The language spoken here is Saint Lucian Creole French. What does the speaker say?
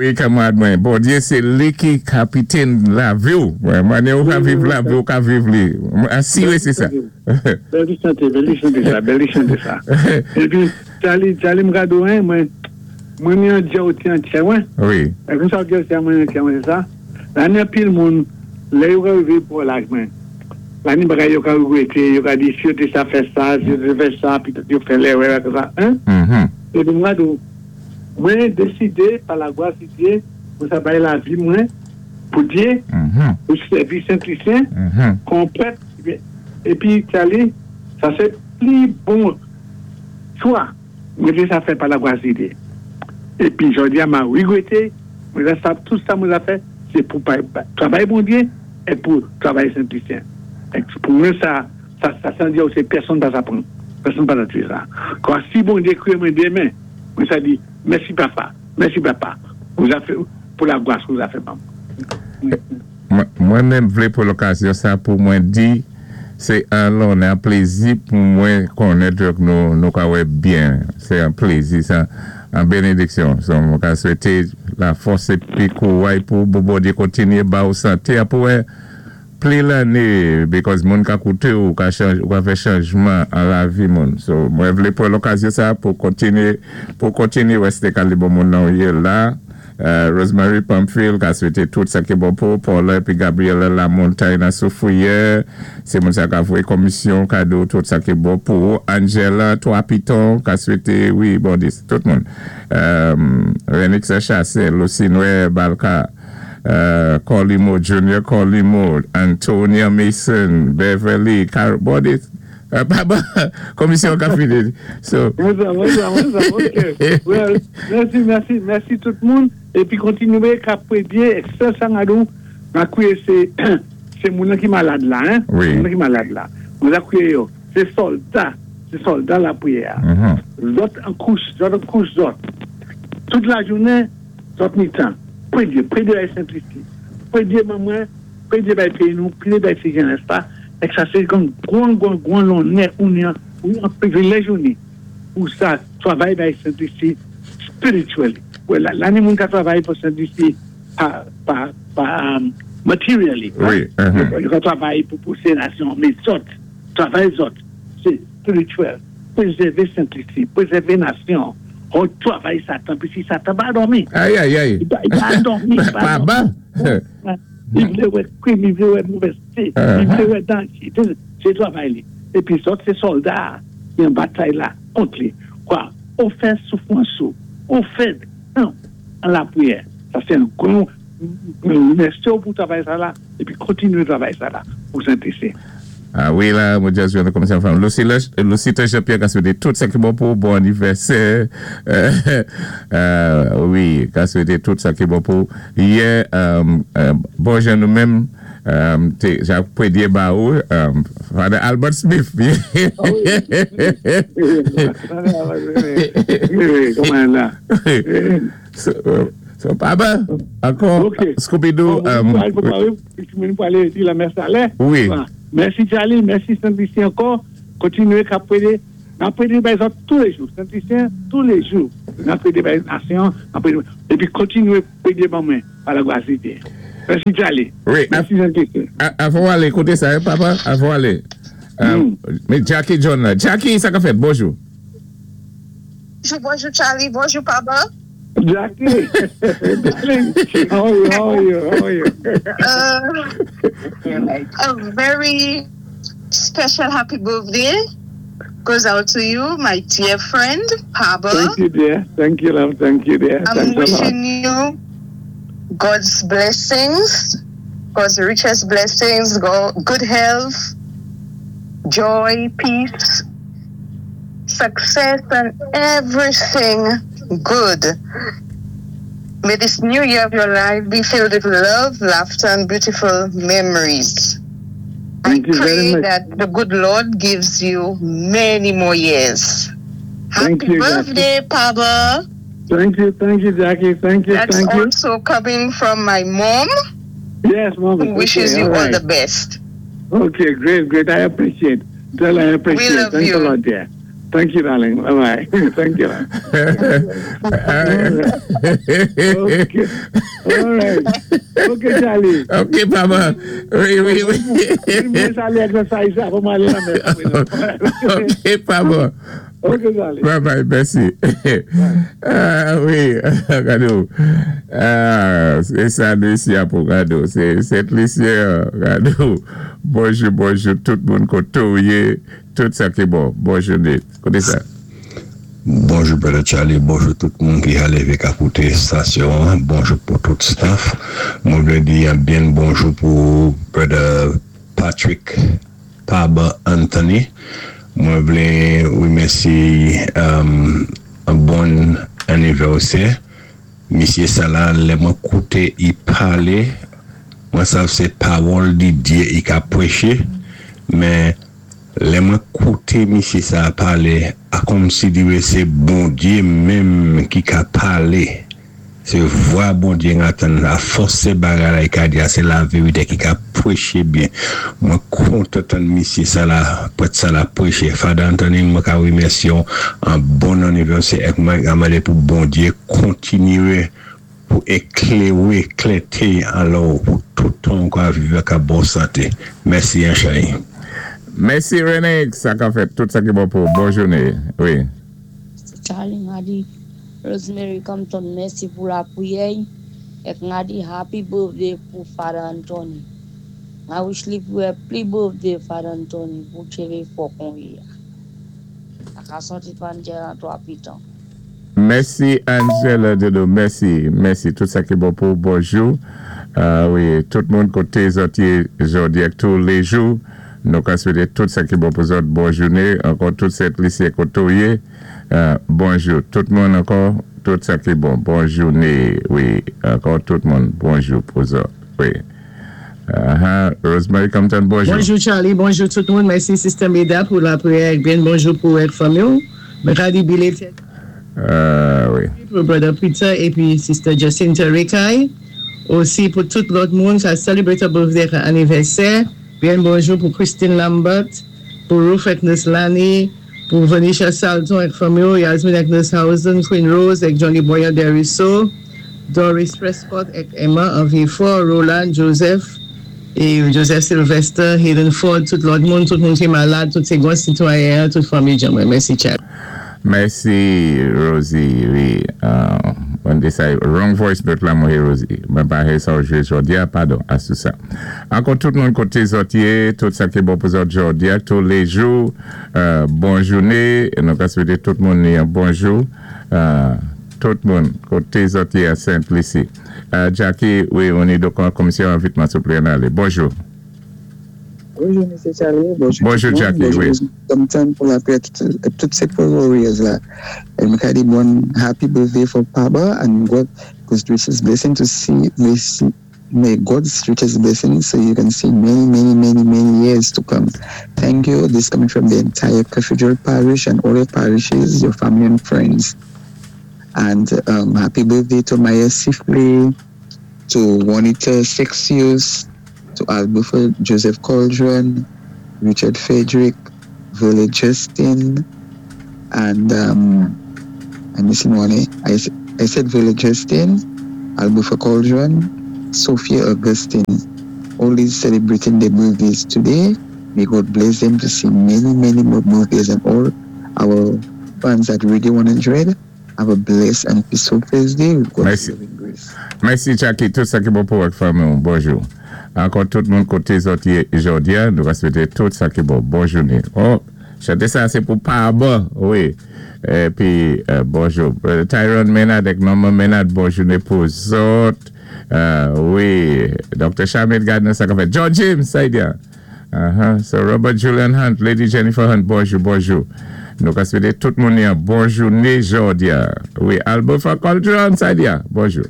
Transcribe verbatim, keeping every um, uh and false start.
Wi, kanmarad mwen, Bondyé, sé li ki kapitèn lavi ou. Mannyè ou ka viv lavi ou ka viv li. Asiré sé sa. Bèl li chanté, bèl li chanté sa, bèl li chanté sa. Épi, Charlie, Charlie m gado, hein, mwen, mwen ni an djè an tchè, mwen. Wi. É kon sa djè mwen an tchè, mwen, sé sa. La ni anpil moun, lè yo rivé pou laj mwen. La ni bagay yo ka wété, yo ka di si yo té sa fè sa, si yo té fè sa, petèt yo fè lèrè ak sa, hein. Mm-hmm. Épi mwen gado, mwen désidé, pa lagwas di Dyé, pou sa bay lavi mwen, pou Dyé, Mm-hmm. pou sèvi Sent-Lisyen, Mm-hmm. kon prèt, épi Charlie, sa sé pli bon chwa, mwen té sa fè pa lagwas di Dyé. Épi jòdi-a m a wégwété, mwen sa tout sa mwen a fè, sé pou travay Bondyé é pou travay Sent-Lisyen. É pou mwen sa, sa, sa san di sé pèsonn pa sa pran. Pèsonn pa sa sa. Kwa si Bondyé kwiyé mwen denmen, mwen sa di, mèsi papa, mèsi papa, pou fè, pou lagwas ou a fè ban Mwen mwen menm vlé pou lokazyon sa pou mwen di sé an lonnè, an plézi pou mwen konnèt ke nou nou ka wè byen. Sé an plézi sa, an bénédiksyon. So, mwen ka swété lafòs épi kouway pou pou Bondyé kontinyé ba ou santé pou pli lanné because moun ka kouté ou ka chanj, ou ka fè chanjman an lavi moun. So, mwen vlé pou lokazyon sa pou kontinyé pou kontinyé wè ka li bon moun nan yé la. Uh, Rosemary Pamphile ka swété tout sa ki bon pou Paula épi Gabriela Lamontagne nan Soufrière. Sé moun sa ka voyé komisyon kado tout sa ki bon pou Angela Trois Pitons ka swété wi bon dis tout moun. Um, Renix Chassé, Lucinwe Balka uh, Colimo Junior Colimo, Antonia Mason, Beverly, Car bon dis uh, papa, komisyon ka fini. So, Mwen sa, mwen sa, mwen sa, ok. Well, mèsi, mèsi, mèsi tout moun. Épi kontinyé ka pwédyé, sèl sa gadon, m a kwiyé sé, sé moun ki malad la, hein? Wi. Moun ki malad la. Mwen a kwiyé yo. Sé sòlda, sé sòlda lapwiyè. mhm. Zòt an kous, zòt an kous zòt. Tout lajounen, zòt ni tan. Pwédyé, pwédyé bay Sent-Lisi. Pwédyé ban mwen, pwédyé bay péyi nou, pwédyé bay ti jenès la. É sa sé kon gwan, gwan, gwan lonnè, ou ni an, ou an privilèj ou ni. Pou sa, travay bay Sent-Lisi spiritually. Wè, la, la ni moun ka travay pou Sent-Lisi pa, pa, pa, um, materially. Wi, mhm. Yo ka travay pou pousé nasyon, mé zòt, travay zòt, sé spirityèl. Pwézèvé Sent-Lisi, pwézèvé nasyon. Ou travay Satan, pi si Satan pa dòmi. Ay, ay, ay. Li pa, li pa dòmi, li pa Pa dòmi. ba. Li vlé wè krim, li vlé wè movèzté, li vlé wè danjé. Sé travay li. Épi zòt sé sòlda ki an batay la kont li. Kwa, ou fè soufwans ou, ou fè an, an lapwiyè. Sa sé an gwan, mèsi pou travay sa la, épi kontinyé travay sa la pou Sent-Lisi. Ah wi, la, mwen just jwenn komisyon fanm. Lucilla, Lucita Jean-Pierre ka swété tout sa ki bon pou bon anivèsè. Euh, euh, wi, ka swété tout sa ki bon pou. Yè, euh, euh, bon jan nou menm, euh, té, ja pwédyé ba ou, euh, Father Albert Smith. Wi, kouman la? So, so, papa, ankò, Ok. Scooby-Doo, Bon, um, mwen pou alé di lamès alè. Wi. Mèsi Charlie, mèsi Sent-Lisi ankò. Kontinyé ka pwédyé. N ap pwédyé bay zòt toulé jou. Sent-Lisyen, toulé jou. N ap pwédyé bay nasyon, n ap pwédyé. Épi kontinyé pwédyé ban mwen pa lagwas di Dyé. Mèsi Charlie. Wi. Mèsi Sent-Lisi. A- Avan alé, kouté sa, hein, papa, avan alé. Um, Mé Jackie John la. Jackie, sa ka fèt, bonjou. Bonjou, bonjou Charlie, bonjou papa. Jackie. Darling, how are you? How are you? How are you? Uh, a very special happy birthday goes out to you, my dear friend, Papa. Thank you, dear. Thank you, love. Thank you, dear. I'm Thanks a lot. wishing you God's blessings, God's richest blessings, go, good health, joy, peace, success, and everything good. May this new year of your life be filled with love, laughter, and beautiful memories. Thank I you very pray much. that the good Lord gives you many more years. Thank Happy you, Jackie. birthday, Papa. Thank you, thank you, Jackie. Thank you, That's thank you. also coming from my mom, Yes, mom. who wishes okay, you all right. the best. Okay, great, great. I appreciate. Tell her I appreciate. love Thanks you. a lot, dear. Thank you, darling. Bye bye. Thank you. Okay. All right. Okay, Charlie. Ok, papa. Wi, wi, wi. Mwen alé exercise avan mwen alé nan Ok, papa. Ok, Charlie. Bye bye, mèsi. Ah, wi, gadé. Ah, sé sa, Lucia, pou gadé. Sé Sent Lisi, gadé. Bonjou, bonjou, tout moun koté ou yé, tout sa ki bon. Bonjou, kouté sa. Bonjou, Brother Charlie. Bonjou, tout moun ki a lévé ka kouté stasyon. Bonjou pou tout staff. Mwen vlé di yon byen bonjou pou Brother Patrick Paba Anthony. Mwen vlé wimèsi um, yon bon anivèsè. Misyé sa la, lè mwen kouté i palé, mwen sav sé pawòl di Dye i ka pwéché, men lè mwen kouté misyé sa palé, a kòm si diwé sé Bondyé menm ki ka palé. Sé vwa Bondyé n antann, a fòs sé bagay la i ka di, sé la vérité ki ka pwéché byen. Mwen kontan tann misyé sa la, pwèt sa la pwéché. Father Anthony, mwen ka wimèsi ou an bon anivèsè èk mwen ka mandé pou Bondyé kontinyé pou ékléwé, klèté alò pou tout tan ka viv ak bon santé. Mèsi, Charlie. Mèsi, René. Sa ka fèt tout sa ki bon pou bon jouné. Wi. Charlie, mwen di Rosemary Compton, mèsi pou la pwiyè. Èk mwen di happy birthday pou Father Anthony. Mwen wish li pou happy birthday Father Anthony pou tchévé fò kon yé. Aka soti pandjè an twa pitan. Mèsi, Angela Dedo. Mèsi, mèsi. Tout sa ki bon pou bonjou. Uh, wi, tout moun koté zòt yé jòdi a tou lé jou. Nou ka swété tout sa ki bon pou zòt bon jouné. Ankò tout Sent Lisi koté ou yé. Uh, bonjou. Tout moun ankò, tout sa ki bon. Bon jouné. Wi, ankò tout moun. Bonjou pou zòt. Wi. Uh-huh. Rosemary Compton, bonjou. Bonjou Charlie, bonjou tout moun. Mèsi Sister Meda pou la pwiyè. Byen bonjou pou èk fanmi. Mwen ka di belated Uh, wi. pou Brother Peter épi Sister Jacinta Rekay. Osi pou tout lòt moun ki celebrate birthday anivèsè. Byen bonjou pou Christine Lambert, pou Ruth Agnes Lani, pou Venisha Salton èk fanmi, Yasmin Agnes Hausen, Queen Rose èk Johnny Boyer Deriso, Doris Prescott èk Emma Envifort, Roland Joseph é Joseph Sylvester, Hayden Ford, tout lòt moun, tout moun ki malad, tout sé gwan sitwayen, tout fanmi Jamwe. Mèsi, Chad. Mèsi, Rosie. Wi. Uh, mwen di sa, wrong voice note la, mwen, Rosie. Mwen pa sa jwé jòdi a, padon, asou sa. Ankò tout moun koté zòt yé, tout sa ki bon pou zòt jòdi a, tou lé jou, euh, bon jouné, nou ka swété tout moun yon bonjou, euh, tout moun koté zòt yé a Sent-Lisi. Euh, Jackie, wi, on est donc en commission vitman, souplé, alé. Bonjou. Bonjou, Mesye Charlie. Bonjou, Bonjou, tout moun. Jackie, Bonjou, wi. Compton pou la pwiyè, tout, tout sé warriors la. É mwen ka di bon happy birthday for Papa and God God's richest blessing to see, may, see, may God's richest blessing so you can see many, many, many, many years to come. Thank you. This coming from the entire Cathedral Parish and all your parishes, your family and friends. And um, happy birthday to Maya Sifley, to Juanita Sexius, to Albuford Joseph Cauldron, Richard Frederick, Violet Justin, and um, I'm missing one. Eh? I, s- I said Violet Justin, Albuford Cauldron, Sophia Augustine. All these celebrating their birthdays today. May God bless them to see many, many more birthdays and all our fans at Radio one hundred. Have a blessed and peaceful Thursday with God's Mèsi. Loving grace. Mèsi, Jackie. Tout sa ki bon pou fanmi. Bonjou. Ankò tout moun koté zòt yé jòdi a, nou va swété tout sa ki bon. Bon jouné. Oh, chanté sa, sé pou Paba, wi. Épi, euh, bonjou. Brother Tyrone Menard avèk Norman Menard, bon jouné pou zòt. Euh, wi. Doctor Charmaine Gardner, sa ka fèt. John James, sa y est. Uh-huh. So Robert Julian Hunt, Lady Jennifer Hunt, bonjou, bonjou. Nou ka swété tout moun yon bon jouné jòdi a. Wi, Albert Cauldron, sa y est. Bonjou.